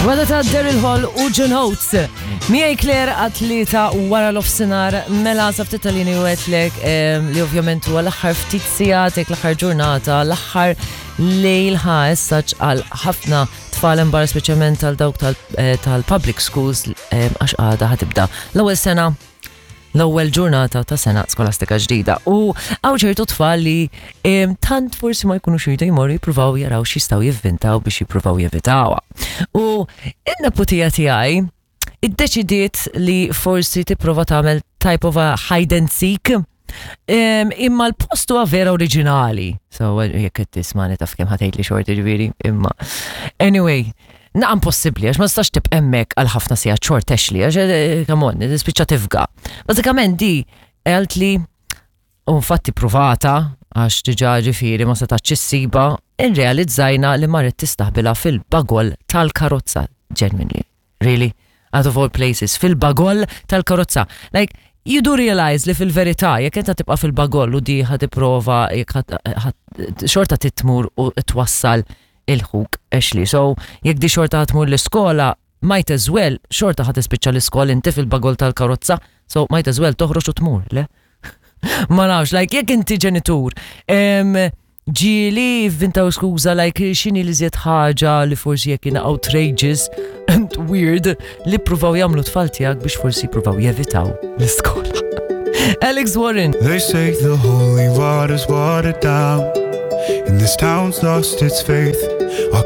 Wada ta' Daryl Hall u John Oates. Miegħi Claire għat-tlieta wara l-ofsinar mela sa ftit tal-lini u għetlek li ovvjament huwa l-aħħar ftit sigħat jekk l-aħħar ġurnata, l-aħħar lejl ħa essaċ għal ħafna tfal imbar speċjalment għal dawk eh, tal-public schools għax għada ħatibda l-ewwel sena l-ewwel ġurnata ta' sena skolastika ġdida. U hawn ċertu tfal li tant forsi ma jkunux jridu jmorru jippruvaw jaraw x'jistgħu jivvintaw biex jippruvaw jevitawha. U in-neputija tiegħi iddeċidiet li forsi tipprova tagħmel type of a hide and seek Imma l-post huwa vera oriġinali. So, jekk qed tismani taf kemm ħatejt li xorti ġifieri, imma. Anyway, naqam possibbli għax ma tistax tibqa' hemmhekk għal ħafna sigħat xort Ashley għax eh, come on, tispiċċa tifga. Bażikament di għalt li u infatti pruvata għax diġà ġifieri ma setax issiba, irrealizzajna li marret tistaħbilha fil-bagol tal-karozza genuinely. Really? Out of all places, fil-bagoll tal-karozza. Like, you do realize li fil-verità, jekk inta tibqa' fil-bagoll u di ħa tipprova jekk xorta titmur u twassal il-ħuk Ashley. So, jekk di xorta tmur l-iskola, might as well, xorta ħa tispiċċa l-iskola inti fil-bagoll tal-karozza, so might as well toħroġ u tmur, le? Ma nafx, like, jekk inti ġenitur, ġieli vvintaw skuża like x'inhi l-iżjed ħaġa li forsi jekk jiena outrageous and weird li ppruvaw jagħmlu tfal tiegħek biex forsi jippruvaw jevitaw l-iskola. Alex Warren. They say the holy water's watered down And this town's lost its faith. Our